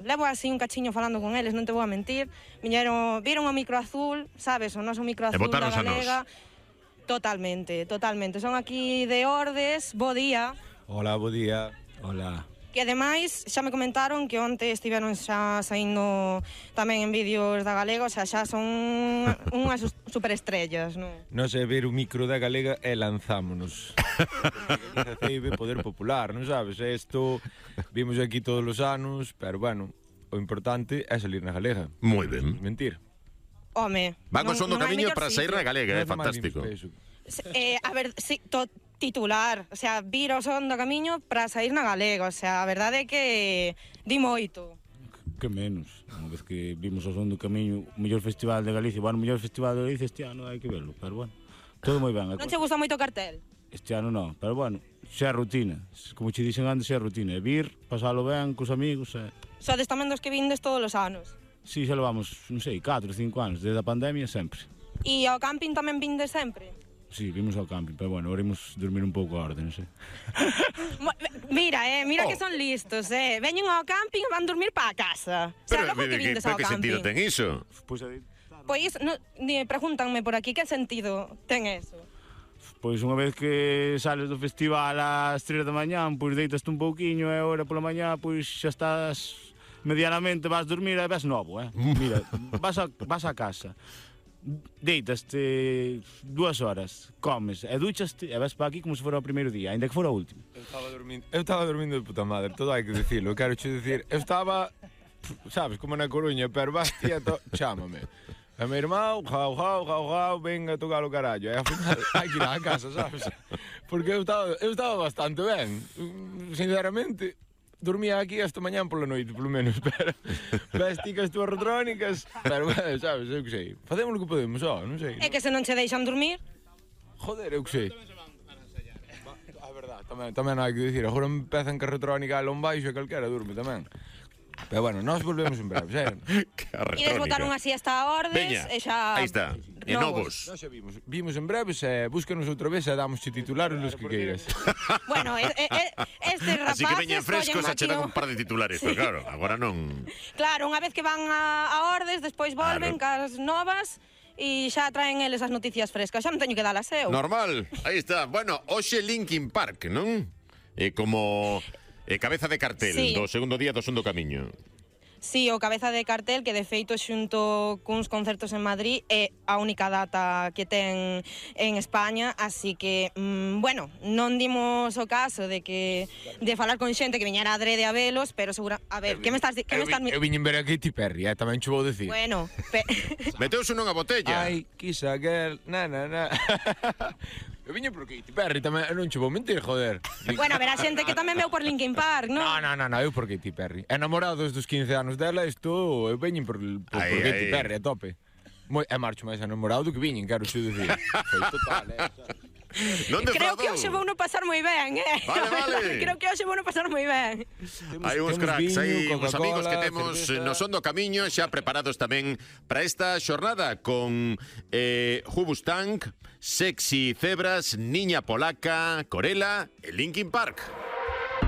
Levo así un cachiño falando con eles, non te vou a mentir. Viñeron o micro azul, sabes, o noso micro azul da Galega. Totalmente. Son aquí de Ordes, bo día. Hola, bo día. Hola. Que ademais xa me comentaron que onte estiveron xa saindo tamén en vídeos da Galega, o sea, xa son unhas superestrellas, non? Non sei ver o micro da Galega e lanzámonos. Ceibe poder popular, non sabes? Isto vimos aquí todos os anos, pero bueno, o importante é salir na Galega. Moi ben. Mentir. Home, van co son do camiño para sair na Galega, é fantástico. A ver, sí, titular, o sea, vir o son do camiño para sair na Galega, o sea, a verdade é que di moito. Que menos, unha vez que vimos o son do camiño, o mellor festival de Galicia, bueno, o mellor festival de Galicia este ano hai que verlo, pero bueno, todo moi ben. Non che gusta moito o cartel? Este ano non, pero bueno, xa é rutina, como che dixen antes, xa é rutina, é vir, pasalo ben cos amigos, Sodes tamén dos que vindes todos os anos? Si, xa levamos, non sei, 4 ou 5 anos, desde a pandemia sempre. E ao camping tamén vindes sempre? Sí, vimos ao camping, pero bueno, ahora imos dormir un pouco a orde, non sei. Mira que son listos, veñen ao camping e van dormir para a casa. O sea, logo que vindes ao camping. Que sentido ten iso? Pois, pregúntanme por aquí, que sentido ten eso? Pois unha vez que sales do festival ás 3 da mañán, pois deitaste un pouquiño e agora pola mañá, pois xa estás medianamente, vas dormir e ves novo, Mira, vas a casa. Deitaste 2 horas, comes e duchaste e vas para aquí como se fora o primeiro día, ainda que fora o último. Eu estaba dormindo de puta madre, todo hai que dicilo. Quero che dicir, eu estaba, sabes, como na Coruña, pero vas tieto, chámame. E meu irmão, jau, venga a tocar o carallo. E ao final hai que ir á casa, sabes? Porque eu estaba bastante ben, sinceramente. Dormía aquí esta mañán pola noite, polo menos, pero vesti que as túas retrónicas, pero, sabes, eu que sei, facemos o que podemos, non sei. É que se non che deixan dormir? Joder, eu que sei. A verdade, tamén hai que dicir, agora empezan que a retrónica a lón baixo e calquera durme tamén. Pero bueno, nós volvemos en breve, Ides botar unha siesta a Ordes. Veña, aí está, e novos. Nós xa vimos en breves e búscanos outra vez e damos titulares los que queiras. Bueno, este rapaces... Así que veñen frescos a che dan un par de titulares, pero claro, agora non... Claro, unha vez que van a Ordes, despois volven cas novas e xa traen eles as noticias frescas. Xa non teño que dalas eu. Normal, aí está. Bueno, hoxe Linkin Park, non? Como... cabeza de cartel, sí, do segundo día do Son do Camiño. Sí, o cabeza de cartel que de feito xunto cuns concertos en Madrid é a única data que ten en España, así que, bueno, non dimos o caso de falar con xente que viñera adrede a velos, pero segura... A ver, que me estás... Eu viñen ver a Katy Perry, tamén che vou dicir. Bueno... Meteuse nunha botella. Ai, kiss a girl, na. Eu viño por Katy Perry tamén, non che vou mentir, joder. Bueno, a ver, a xente que tamén veu por Linkin Park, non? Non, eu por Katy Perry. Enamorados dos 15 anos dela, eu veñen por Katy Perry, a tope. É marcho máis enamorado do que viñen, quero xe dicir. Foi total, Creo que hoxe vou non pasar moi ben, Vale. Creo que hoxe vou non pasar moi ben. Hai uns cracks aí, uns amigos que temos no Son do Camiño xa preparados tamén para esta xornada con Hubustang, Sexy Zebras, Niña Polaca, Corela e Linkin Park.